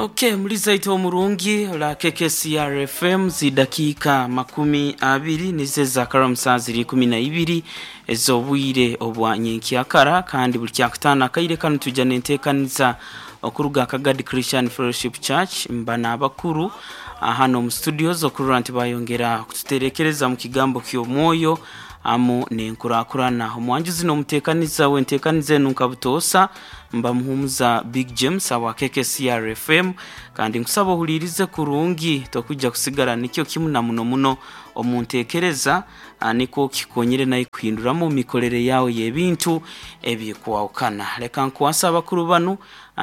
Ok muliza itwe omurungi ola KKCR FM zidakiika 20 nizo ezakara mu saaha ziri 12 ez'obwire obwa nyenkyakara kandi buli kyakutaano akaire kanu twija n'enteekaniza okuruga Kagadi Christian Fellowship Church mba n'abakuru hano omu studios okurora nti bayongera kututerekereza mu kigambo ky'omwoyo amu n'enkurakurana. Omwanjuzi n'omuteekaniza w'enteekaniza enu nka butoosa Mba Muhumuza Big James awa KKCR FM kandi nkusaba ohuliirize kurungi tokwija kusigara nikyo kimu na muno muno omu ntekereza nikwo kikonyere naye kuhinduramu omu mikorere yaawe y'ebintu ebikwahukana. Leka nkwase abakuru banu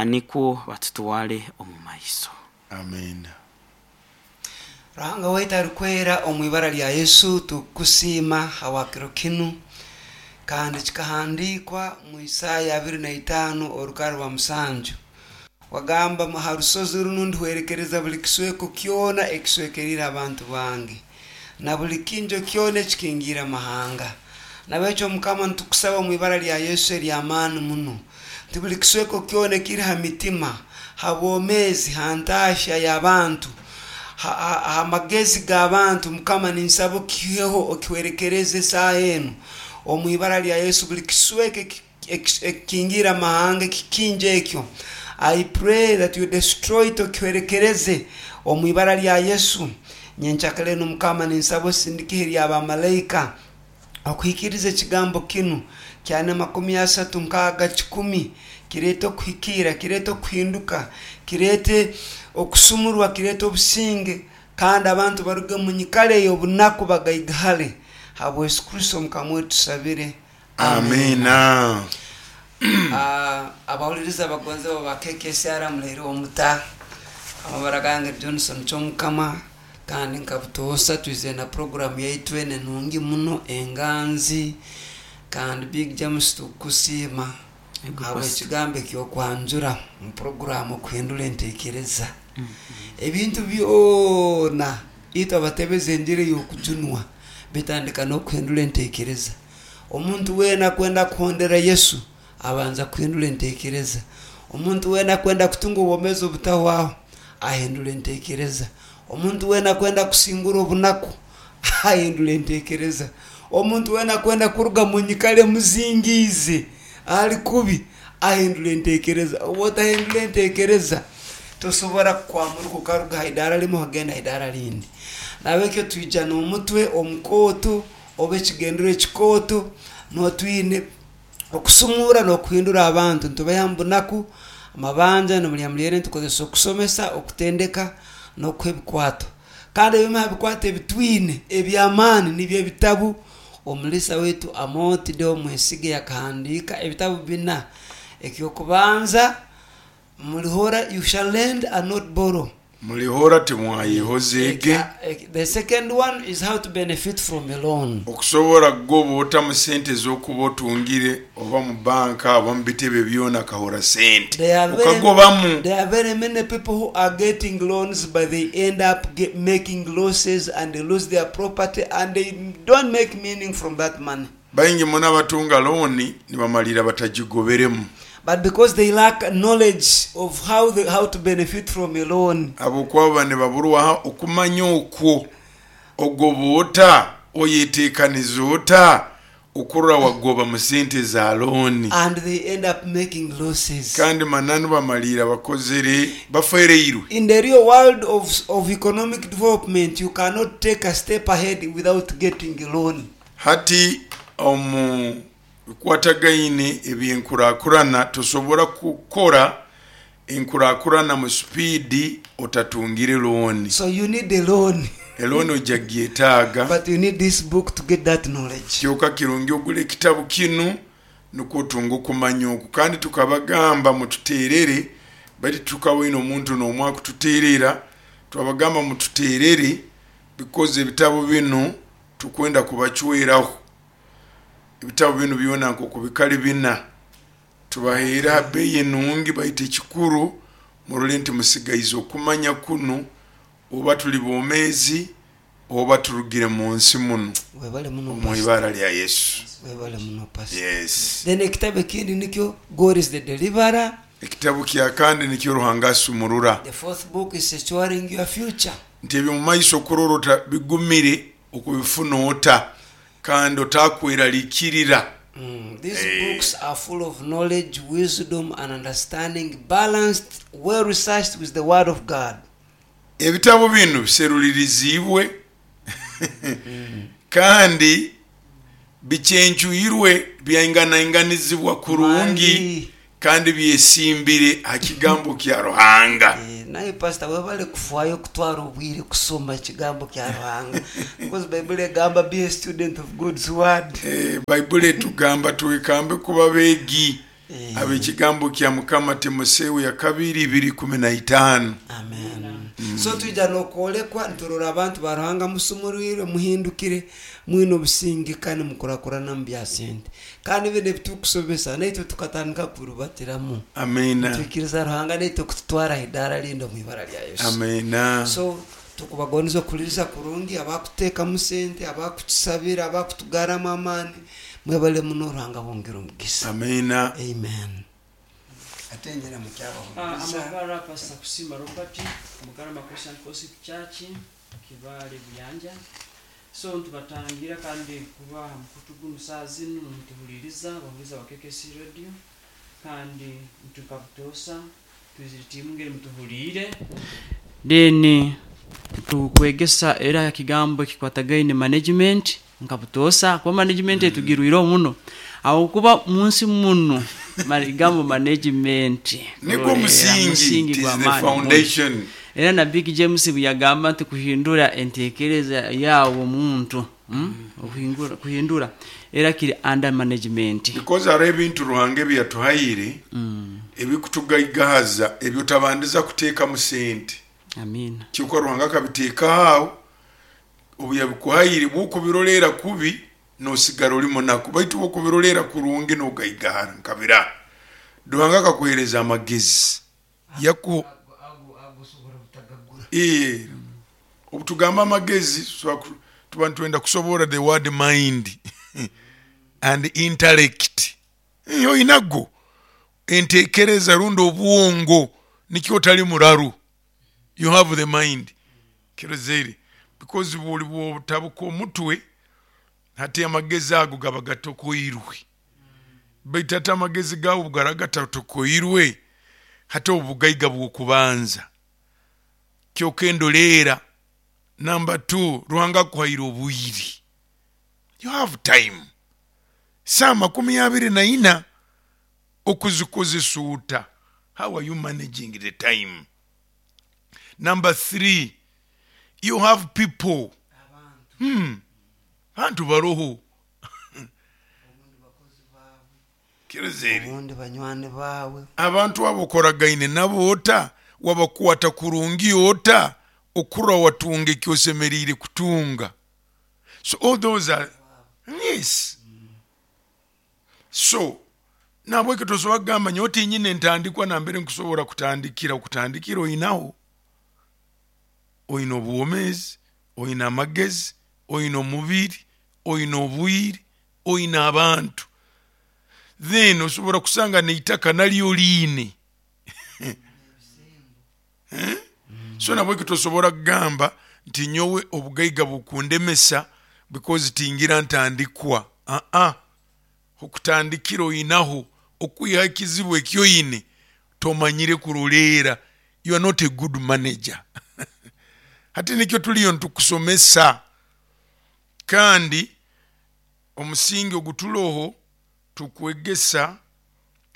nikwo batutwale omu maiso. Amiina. Ruhanga waitu arikwera, omu ibara lya Yesu tukukusiima habwa kiro kinu. Kandi kikahandiikwa mu Isaaya 25 orukara rwa musanju, wagamba, Ha rusozi runu ndihwerekereza buli kisweko kyona ekiswekeriire abantu bange, na buli kinjo kyona ekikingiire amahanga. Nabekyo Mukama nitukusaba omu ibara lya Yesu ery'amaani muno, nti buli kisweko kyona ekiri ha mitima, ha bwomeezi, ha ntaahya y'abantu, ha, ha, ha magezi g'abantu, Mukama ninsaba okiheho okihwerekereze esaaha enu, omu ibara lya Yesu, buli kisweko ekikingiire amahanga, ekikingi ekyo, I pray that you destroy it, okihwerekereze omu ibara lya Yesu. Nyenkyakara enu Mukama ninsaba osindike ihe ly'abamalaika Okuhikiiriza ekigambo kinu kyana 30 nkaaga kikumi, kireete okuhikiira, kireete okuhinduka, kireete okusumurwa, kireete obusinge, kandi abantu baruge omu nyikara ey'obunaku bagaigahale. Habwa Yesu Kristo Mukama waitu tusabire. Amiina. Abahuliriza abagonzebwa ba KKCR mulehireho muta? Amabara gange Johnson Kyomukama. Kandi nka butoosa twizire na puroguramu yaitu enu enungi muno enganzi. Kandi Big James tukukusiima ahabw'ekigambo eky'okwanjura omu puroguramu okuhindura entekereza. Ebintu byona itwe abatebeza enjiri ey'okujunwa bitandika n'okuhindura entekereza. Omuntu weena akwenda kuhondera Yesu Abanza kuhindura entekereza. Omuntu weena akwenda kutunga obwomeezi obutahwaho, ahindura entekereza. Omuntu weena akwenda kusingura obunaku, ahindura entekereza. Omuntu weena akwenda kuruga mu nyikara emuzingiize ali kubi, ahindura entekereza. Obu otahindura entekereza, tosobora kukwamuruka okaruga ha idaara limu okagenda ha idaara rindi. Nahabwekyo twija n'omutwe omukooto oba ekigendererwa ekikooto, nuho twine. Okusumuura n'okuhindura abantu nitubaiha omu bunaku, amabanja, n'omuri muryere nitukozesa okusomesa, okutendeka, n'okuha ebikwato. Kandi ebimwe aha bikwato ebi twine eby'amaani nibyo ebitabu omuriisa waitu Amooti Deo Mwesige yakahandiika ebitabu bina. Eky'okubanza, Mulihora, You Shall Lend and Not Borrow. Mulihora timwayehozeege. The second one is how to benefit from a loan. Okusobora kugoba ota mu sente ez'okuba otungire oba mu banka oba mu bitebe byona akahora sente There are very, okagobamu. there are very many people who are getting loans but they end up get, making losses and they lose their property and they don't make meaning from that money. Baingi muno abatunga looni nibamalirra batagigoberemu. But because they lack knowledge of how the, how to benefit from a loan. Habwokuba baba nibaburwaho okumanya okwo. Ogoba ota? Oyetekaniza ota okurora wagoba mu sente za looni? And they end up making losses. Kandi mananu bamalirra bakozere, bafereirwe. In the real world of, of economic development, you cannot take a step ahead without getting a loan. Hati omu bikwatagaine eby'enkurakurana tosobora kukora enkurakurana mu supiidi otatungire looni. So you need a loan. Elooni oija kugyetaaga. But you need this book to get that knowledge. Kyoka kirungi ogule ekitabu kinu nukwo otunge okumanya oku. Kandi tukabagamba mututeerere, baitu titukaboine omuntu n'omu akututeerera. Twabagamba mututeerere because ebitabu binu Tukwenda kubacweraho ebitabu binu byona nkoku bikali bina. Tubahaire ha beeyi enungi baitu ekikuru murole nti musigaize okumanya kunu oba tuli bomeezi oba turugire mu nsi munu Webale muno omu pastor. ibara lya Yesu. Webale muno pastor. Yes. Then ekitabu ekindi nikyo God is the deliverer. Ekitabu kya kandi nikyo Ruhanga asumurura. The fourth book is securing your future. Nti eby'omu maiso okurora ota bigumire okubifuna ota kandi otakweralikirira. These books are full of knowledge, wisdom and understanding, balanced, well researched with the word of God. Ebitabu binu biseruliriziibwe kandi bicencwirwe byainganainganizibwa kurungi Mali. kandi byesimbire ha Kigambo kya Ruhanga. Naye pastor webale kufwayo kutwara obwire kusoma ekigambo kya Ruhanga because Baibuli egamba be a student of God's word. Baibuli etugamba twekambe kuba beegi ab'ekigambo kya Mukama, Timoseo yakabiri 2:15. Amen. So twija n'okwolekwa niturora abantu ba Ruhanga musumurwirwe, muhindukire, mwine obusinge kandi mukurakurana omu bya sente. Kandi binu ebiturukusomesa naitwe tukatandika kubirubatiramu. Amina. Nitwikiriza Ruhanga naitwe kututwara ha idaara rindi omu ibara lya Yesu. Amina. So tukubagondeza okuhuliriza kurungi, abakuteekamu sente, abakutusabira, abakutugarramu amaani, mwebale muno Ruhanga abongere omugisa. Amina. Amen. Ate nyina mukyabahuliriza. Amabara Pastor Kusiima Robert, Mugarama Christian Fellowship Church, Kibaale Buyanja. So nitubatangira kandi kuba aha mukutu gunu saaha zinu nimutuhuliriza, abahuliiriza ba KKC Radio, kandi nitwe butoosa twizire tiimu ngeri mutuhuliire. Then tukwegesa era aha kigambo ekikwatagaine management nka butoosa kuba management etugirwireho muno ahabw'okuba munsi munu ekigambo management Nigwo musingi, musingi it is the gw'amaani muno. foundation. Era na Big James bweyagamba nti kuhindura entekereza yawe omuntu, Okuhindura era kiri under management. Because hariho ebintu Ruhanga ebi yatuhaire ebikutugaigahaza ebi otabandiza kuteekamu sente. Amiina. Kyonka Ruhanga akabiteekaho aho, obu yabikuhaire bw'okubiroleera kubi nosigara ori munaku baitu bw'okubiroleera kurungi nogaigahara nka bira. Ruhanga akakuheereza amagezi yaku Ee, obu tugamba amagezi tusobola ku- tuba nitwenda kusoborra the word mind and intellect. Oinago entekereza rundi obwongo nikyo otali muraru. You have the mind. Kirozere because bwoli bwotabuka omutwe hati amagezi ago gaba gatokoirwe. Baitu hati amagezi gawe obu garaba gatatokoirwe, hati obu bugaiga bw'okubanza. Kyoka endoleera namba two, Ruhanga akuhaire obwire. You have time. Saaha 24 okuzikozesa ota? How are you managing the time? Number three, you have people. Abantu baroho. Kirozere. Obundi banywani baawe. Abantu abo okoragaine nabo ota? Wabakwata kurungi ota okurora watunga eki osemeriire kutunga? So all those are yes. So nahabweki tosobora kugamba nyowe tinyine entandikwa nambere nkusobora kutandikira. Okutandikira oinaho, oine obwomeezi, oine amagezi, oine omubiri, oine obwire, oine abantu. Then osobora kusanga n'eitaka naryo oriine. So nabweki tosobora kugamba nti nyowe obugaiga bukundemesa because tingira ntandikwa. Aa, okutandikira oinaho, okwiha ekizibu eki oine tomanyire kuroleera. You are not a good manager. Hati nikyo tuliyo nitukusomesa. Kandi omusingi oguturoho tukwegesa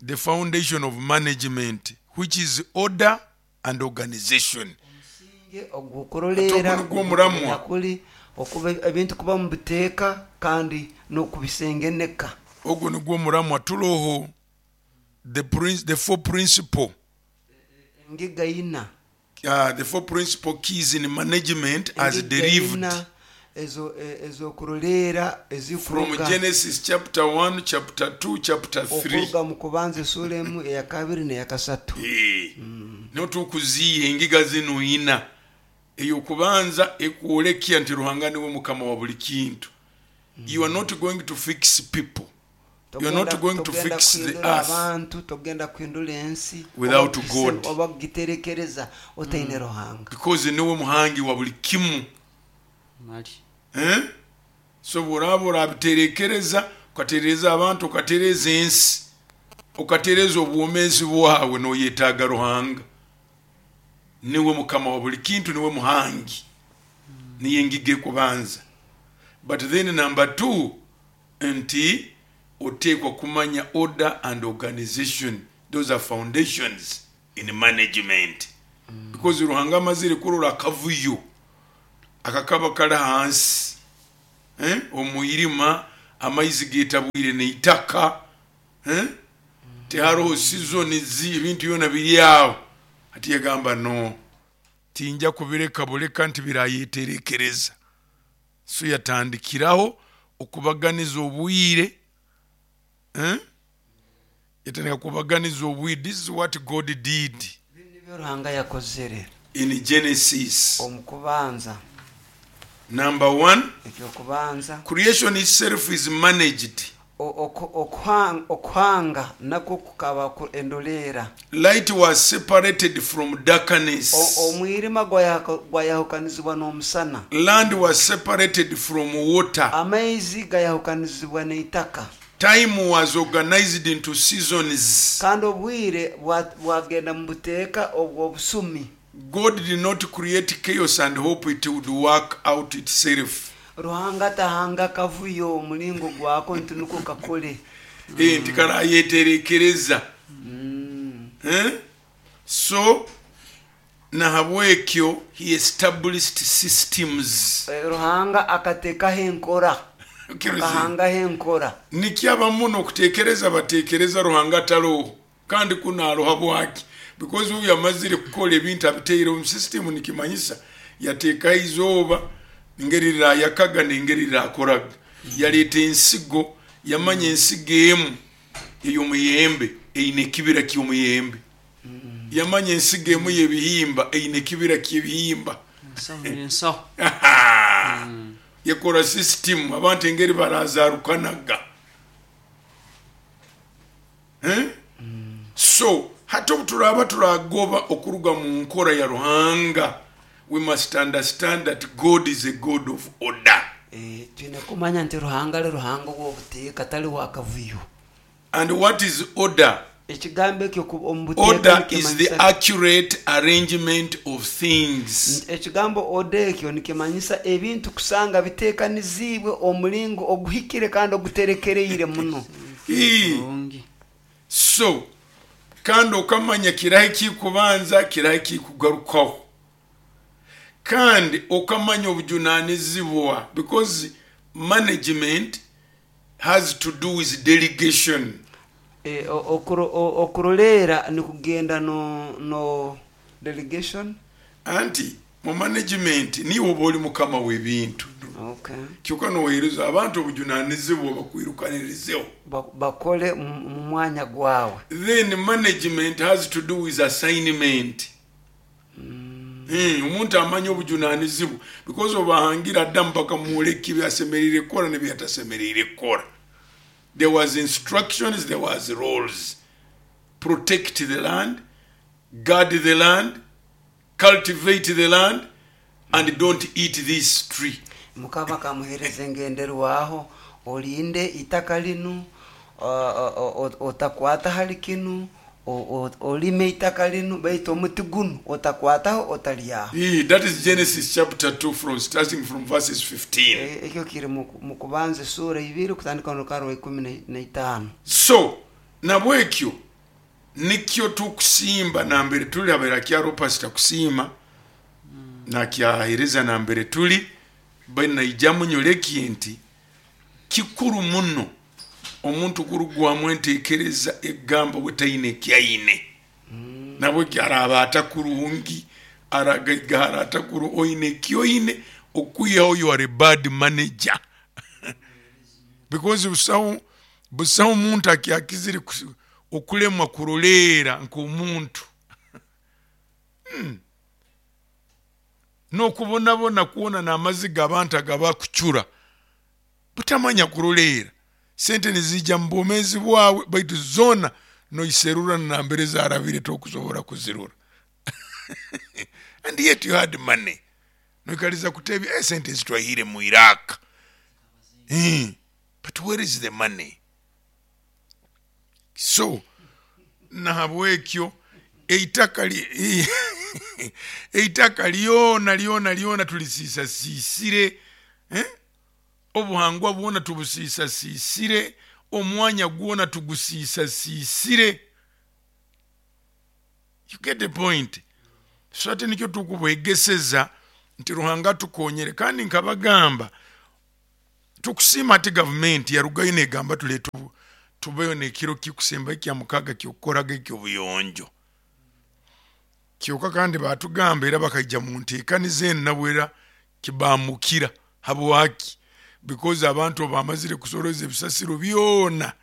the foundation of management which is order and organization. Omusingi ogw'okuroleera Hati ogu nigwo muramwa. kuli okuba ebintu kuba omu buteeka kandi n'okubisengeneka. Ogu nigwo muramwa turoho the four principle. Engiga ina. The four principle keys in management as Engiga derived ina ez'okuroleera from ezikuruga Genesis chapter 1, chapter 2, chapter 3. okuruga mu kubanza esuura emu, eyakabiri n'eyakasatu. Niho tukuziiha engiga zinu ina. Ey'okubanza ekwolekya nti Ruhanga niwe Mukama wa buli kintu. You are not going to fix people. You're not going to Togenda fix the kuhindura earth abantu, togenda kuhindura ensi without oba God. oba kugiterekereza otaine Ruhanga. Because niwe muhangi wa buli kimu. Mali. Eh? So bw'oraaba orabiterekereza, ukatereza abantu, ukatereza ensi, ukatereza obwomeezi bwawe, noyetaaga Ruhanga. Niwe mukama wa buli kintu, niwe muhangi, niye engigi ekubanza. But then number two, nti oteekwa kumanya order and organization. Those are foundations in management, because Ruhanga amazire kurora akavuyo akakaba kali hansi, eh? Omwirima, amaizi getabwire neitaka, eh? Tiharoho seasons, ebintu byona biri awo. Ati yagamba, no, tinja kubireka buleka nti birayeterekereza. So yatandikiraho okubaganiza obwire, eh? Yatandika kubaganiza obwire. This is what God did Binu nibyo Ruhanga yakozere in Genesis. Omukubanza. Number one, Ekyokubanza, creation itself is managed. Okuhanga nakwo kukaba endoleera. Light was separated from darkness. Omwirima gwayahukanizibwa n'omusana. Land was separated from water. Amaizi gayahukanizibwa n'eitaka. Time was organized into seasons. Kandi obwire bwagenda mu buteeka obw'obusumi. God did not create chaos and hope it would work out itself. Ruhanga tahanga kavuyo omulingo gwako nti nuko kakole. Eh, nti karayeterekereza. Eh? So nahabwekyo he established systems. Ruhanga akateekaho enkora. Akahangaho enkora. Nikyo muno okutekereza batekereza Ruhanga ataroho, kandi kunaroha bwaki, because uyu amazire kukora ebintu abiteire omu system. Nikimanyisa yateekaho izooba engeri rirayakaga nengeri rirakoraga, yaleeta ensigo, yamanya ensigo emu ey'omuyembe eine ekibira ky'omuyembe, yamanya ensigo emu y'ebihimba eine ekibira ky'ebihimba. Ensaho n'ensaho. Yakora system abantu engeri barazarukanaga. Eh? So hati obu turaba turagoba okuruga mu nkora ya Ruhanga, we must understand that God is a God of order. Twine kumanya nti Ruhanga ali Ruhanga w'obuteeka, tali wakavuyo. And what is order? Ekigambo ekyo omu buteeka Order is the nikimanyisa accurate arrangement of things. Ekigambo order ekyo nikimanyisa ebintu kusanga biteekanizibwe omulingo oguhikire kandi oguterekereire muno. Kurungi. So kandi okamanya kirahe kikubanza, kirahe kikugarukaho, kandi okamanya obujunanizibwa, because management has to do with delegation. Okuroleera nikugenda no delegation. Anti mu management niwe oba oli mukama w'ebintu, kyokka noweereza abantu obujunanizibwa bakwirukanirizeho. Bakole mu mwanya gwawe. Then management has to do with assignment. Omuntu amanya obujunanizibwa because obahangira ddamu bakamwoleka ebyasemereire kukola nebyatasemereire kukola. There was instructions, there was roles: protect the land, guard the land, cultivate the land, and don't eat this tree. Mukama kamuhereza engenderwaho: olinde itaka linu, otakwata hali kinu, olime itaka linu, baitu omuti gunu otakwataho, otalyaho. That is Genesis chapter 2, from starting from verses 15. Ekyo kiri mu kubanza esura 2 kutandika n'orukara rwa 15. So nabwekyo nikyo tukusimba nambere tuli abaire akyaro pasita kusiima nakyahereza nambere tuli banaijamu nyoleki nti kikuru muno omuntu kurugwamu entekereza egamba bwetaine ekyaine. Nabwekyo araba atakurungi, aragaigara atakuru, oine ekyoine okwihaho you are a bad manager, because busaho omuntu akyakizire okulemwa kuroleera nk'omuntu. N'okubonabona kwona n'amaziga abantu agabakucura butamanya kuroleera. Sente nizijja mu bwomeezi bwawe, baitu zoona noiserura nambere zarabire tokusobora kuzirora. And yet you had money. Noikaliza kutebya sente ezitwahire mu Iraq. But where is the money? So nahabwekyo eitaka eitaka lyona lyona lyona tulisisasisire, Obuhangwa bwona tubusisasisire, omwanya gwona tugusisasisire. You get the point? So ati nikyo tukubwegeseza nti Ruhanga atukonyere. Kandi nkabagamba tukusiima ati gavumenti yarugayo negamba tuleete tubeho n'ekiro kikusemba ekya mukaga kyokukoraga eky'obuyonjo. Kyoka kandi batugamba era bakaija mu nteekaniza enu nabwo era kibamukira. Habwaki? Because abantu obu bamazire kusoroza ebisasiro byona,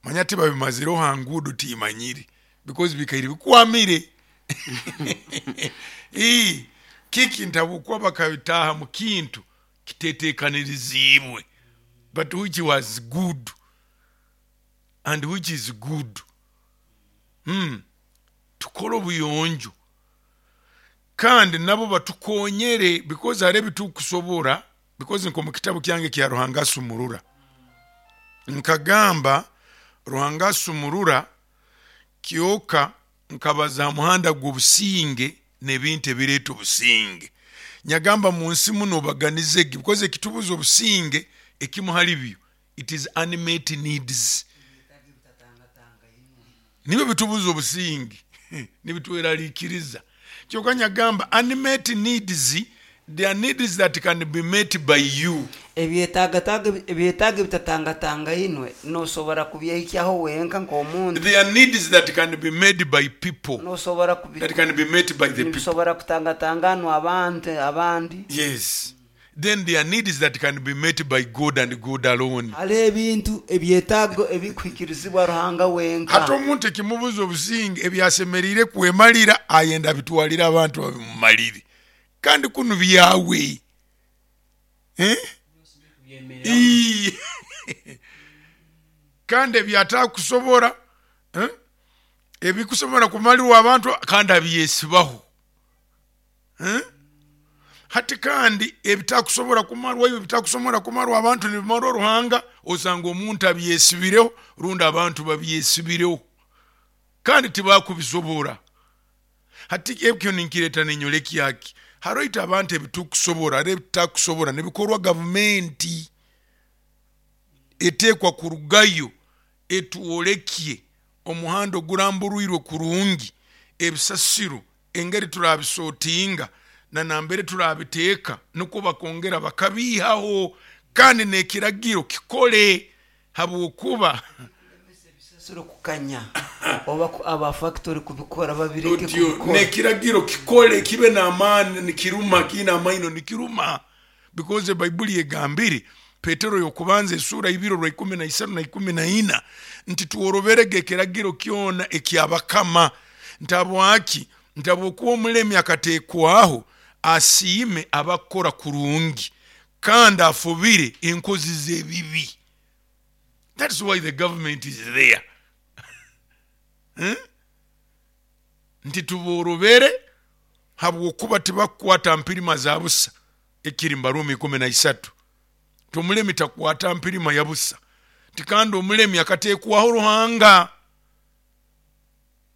manya tibabimazireho ha nguudo timanyire, because bikaire bikwamire. Kiki nti habwokuba bakabitaaha mu kintu kitetekaniriziibwe, but which was good and which is good. Tukole obuyonjo kandi nabo batukonyere, because hariho ebitukusobora, because nk'omu kitabu kyange kya Ruhanga Asumurura nkagamba Ruhanga Asumurura kyoka nkabaza ha muhanda gw'obusinge n'ebintu ebireeta obusinge. Nyagamba mu nsi muno obaganizege, because ekitubuza obusinge ekimu hali byo it is unmet needs, nibyo bitubuza obusinge nibitweraliikiriza. Kyoka nyagamba unmet needs, they are needs that can be met by you. Ebyetaago ebitatangatangainwe nosobora kubyehikyaho wenka nk'omuntu. They are needs that can be made by people, Nosobora that can be met by the people. Nibisobora kutangatanganwa abantu abandi. Yes. Then there are needs that can be met by God and God alone. Hariho ebintu ebyetaago ebikuhikirizibwa Ruhanga wenka. Hati omuntu ekimubuza obusinge ebyasemeriire kwemalira ayenda abitwalire abantu babimumalire, kandi kunu byawe. Kandi ebyatakusobora, ebikusobora kumalirwa abantu kandi abyesibaho. Hati kandi ebitakusobora kumarwa iwe, ebitakusobora kumarwa abantu nibimarwa Ruhanga, osanga omuntu abyesibireho rundi abantu babyesibireho kandi tibakubisobora. Hati ekyo ninkireta ninyolekya ki? Haroho itwe abantu ebitukusobora, hariho ebitakusobora nibikorwa gavumenti etekwa kurugayo etwolekye omuhanda oguramburwirwe kurungi, ebisasiro engeri turabisotinga na nambere turabiteeka nukwo bakongera bakabiihaho, kandi n'ekiragiro kikole habwokuba Ebisasiro kukanya oba aba factory kubikora babireke Otyo, kubikora. N'ekiragiro kikole kibe n'amaani, nikiruma, kiine amaino nikiruma, because Baibuli egambire Petero y'okubanza esuura ibiri orwa ikumi na isatu na ikumi na ina nti tworoberege ekiragiro kyona eky'abakama. Nti habwaki? Nti habwokuba omulemi akateekwaho asiime abakukora kurungi kandi afubire enkozi z'ebibi. That's why the government is there. Nti tuborobere habwokuba tibakukwata mpirima za busa, ekiri Mbarumi ikumi na isatu. Nti omulemi takwata mpirima ya busa, nti kandi omulemi akateekwaho Ruhanga.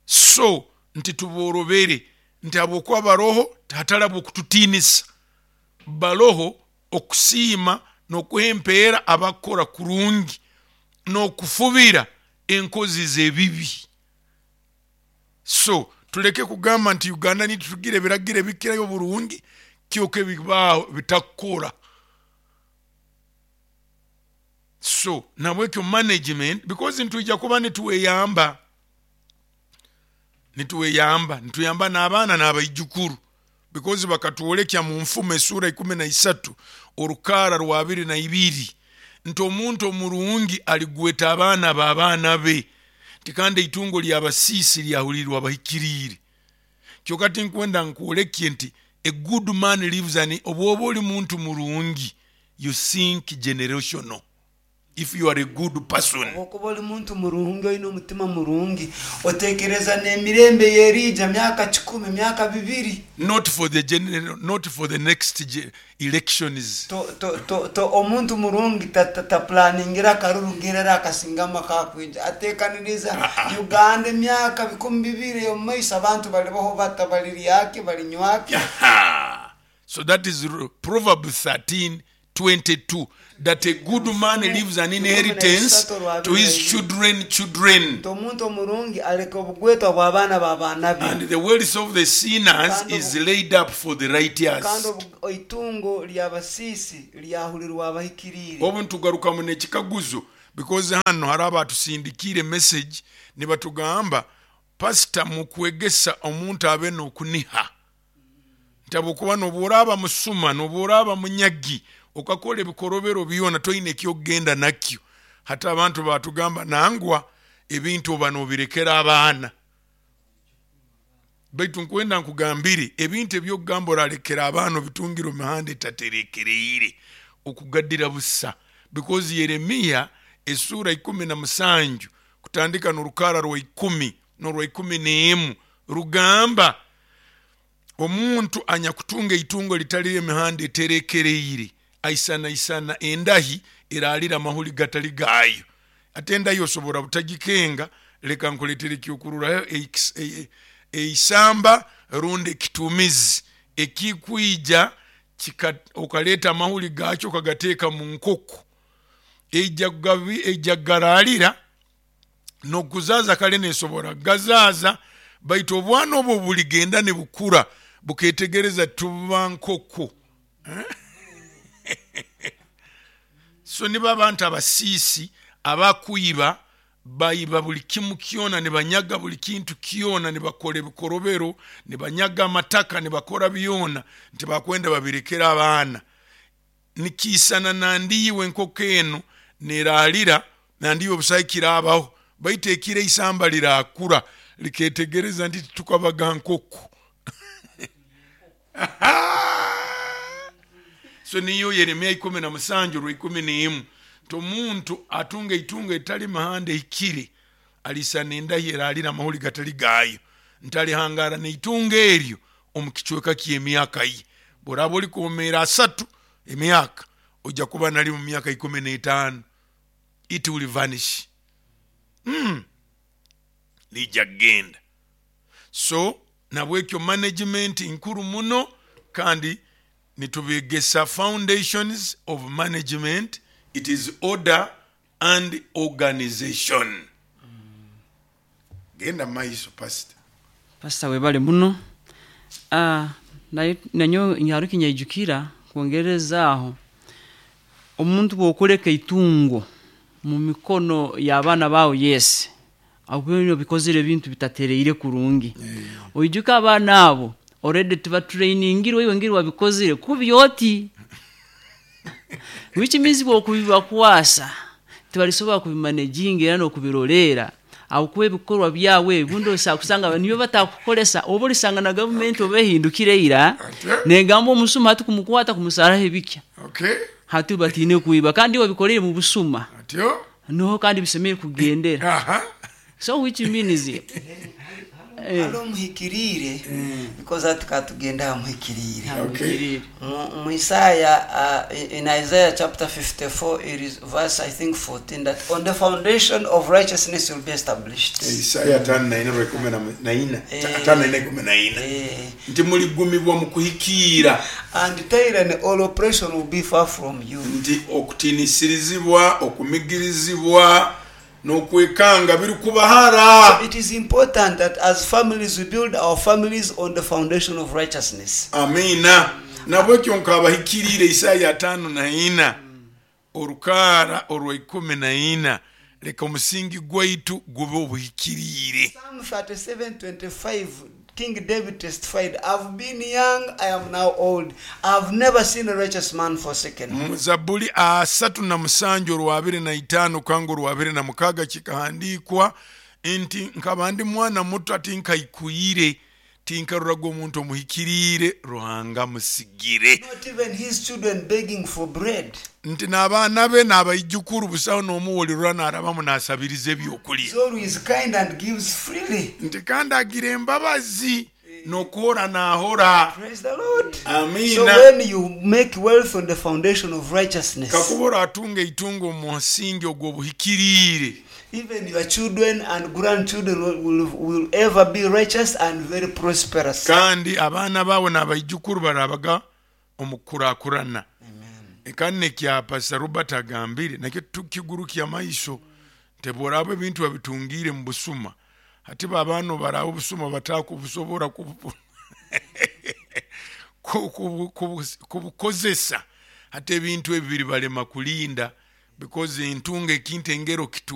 So nti tuborobere, nti habwokuba baroho hatali habw'okututiinisa, baroho okusiima n'okuha empeera abakukora kurungi n'okufubira enkozi z'ebibi. So tuleke kugamba nti Uganda nitutugira ebiragiro ebikirayo oburungi kyoka ebibaho bitakukora. So nabwekyo management, because nitwija kuba nitweyamba, nitweyamba, nituyamba n'abaana n'abaijukuru, because bakatwolekya mu Nfumo esuura ikumi na isatu orukaara rwa abiri na ibiri nti omuntu omurungi aligweta abaana b'abaana be, nti kandi eitungo ly'abasiisi lyahulirirwa abahikiriire. Kyoka tinkwenda nkwolekye nti a good man lives an, obwoba oli muntu murungi you think generational. If you are a good person. Obwokuba oli muntu murungi oine omutima murungi otekereza n'emirembe eyeriija myaka 100, myaka 2. Not for the general, not for the next elections. To, to, to, to omuntu murungi taplaningira akaruru ngerera akasingama kakwija, atekaniriza Uganda emyaka 200 ey'omu maiso, abantu balibaho bata, baliryaki, balinywaki. So that is Proverbs 13:22, that a good man leaves an inheritance to his children children. Nti omuntu omurungi aleka obugwetwa bw'abaana b'abaana be. And the wealth of the sinners is laid up for the righteous. Kandi itungo ly'abasiisi lyahulirwa abahikiriire. Obu nitugarukamu n'ekikaguzo, because hano hariho abatusindikiire message nibatugamba, pastor, mukwegesa omuntu abe n'okuniha nti habwokuba nobu oraaba musuma, nobu oraaba munyagi, okakora ebikorobero byona, toine ekyokugenda nakyo. Hati abantu batugamba nangwa ebintu oba nobirekera abaana. Baitu nkwenda nkugambire ebintu ebyokugamba oralekera abaana obitungire omu mihanda etaterekereire, okugadira busa. Because Yeremiya esura 17 kutandika n'orukara rwa 10 n'orwa 11 rugamba omuntu anyakutunga eitungo litali emihanda eterekereire aisanaisana endahi eralira amahuli gatali gaayo. Ate endahi osobora butagikenga, leka nkuletere ekyokururaho eisamba rundi ekitumizi ekikwija okaleta amahuli gaakyo okagateeka mu nkoko, eija kugaralira n'okuzaza kale nesobora kugazaza, baitu obwana obwo buligenda nibukura buketegereza tuba nkoko. So nibo abantu abasiisi abakuiba baiba buli kimu kyona, nibanyaga buli kintu kyona, nibakora ebikorobero, nibanyaga amataka, nibakora byona nti bakwenda babirekera abaana. Nikiisana nandiiwe enkoko enu neraalira nandiiwe busaho kirabaho, baitu ekiro eisamba lirakura liketegereza nti tukabaga nkoko. So niyo Yeremiya 17 orwa 11 nti omuntu atunga eitungo etali mihanda ehikire alisana endahi eralira amahuli gatali gaayo, nti alihangara neitungo eryo omu kicweka ky'emyaka ye. Bworaba oli kwomeera 30 emyaka, ojja kuba nali mu myaka 15, it will vanish. Lijja kugenda. So nabwekyo management nkuru muno, kandi nitubegesa foundations of management, it is order and organization. Genda maiso pastor. Pastor webale muno. Nanyo nyaruki nyaijukira kwongerezaaho omuntu bwokuleka itungo mu mikono y'abaana bawe, yes, aho bikozere ebintu bitatereire kurungi. Oijuka abaana abo already tibatrainingirwe iwe ngeri wabikozere kubi oti, which means bwokubibakwasa tibalisobola kubimanejinga era n'okubirolera, aho ebikorwa byawe ebibundi osakusanga niyo batakukolesa, oba olisanga na gavumenti oba ehindukire ira negamba omusuma hati kumukwata kumusaraho ebikya. Hati batine kuiba kandi wabikorere mu busuma. Noho kandi bisemere kugendera. So which means halo muhikirire, because ati katugenda muhikirire. Mu Isaiah, in Isaiah chapter 54, it is verse I think 14, that on the foundation of righteousness will be established. Isaiah 54:14. Nti muligumibwa mu kuhikira. And tyranny, all oppression will be far from you. Nti okutinisirizibwa, okumigirizibwa n'okwekanga biri kubahara. So it is important that as families we build our families on the foundation of righteousness. Amina. Nabwekyo nkabahikirire Isaya 54 orukara orwa 14, leka omusingi gwaitu gube obuhikirire. Psalm 37:25, King David testified, I've been young, I am now old. I've never seen a righteous man forsaken. Mu Zabuli 37 orwa 25 kanga orwa 26 kikahandikwa nti nkaba ndi mwana muto ati nkaikuyire, Tinkaroraga omuntu omuhikiriire Ruhanga amusigire. Not even his children begging for bread. Nti n'abaana be n'abaijukuru busaho n'omu wolirora n'arabamu n'asabiriza ebyokulya. He's always kind and gives freely. Nti kandi agira embabazi n'okuhora n'ahora. Praise the Lord. So Amiina. when you make wealth on the foundation of righteousness, Kakuba oratunga eitungo omu musingi ogw'obuhikiriire, even your children and grandchildren will ever be righteous and very prosperous. Kandi abaana baawe n'abaijukuru barabaga omu kukurakurana. Kandi nekya Pastor Robert agambire nakyo tukigurukya amaiso nti bworaba ebintu babitungiire mu busuma, hati bo abaana obaraba obusuma batakubusobora kubukozesa, hati ebintu ebi biribalema kulinda because entunga ekintu engero kitunga.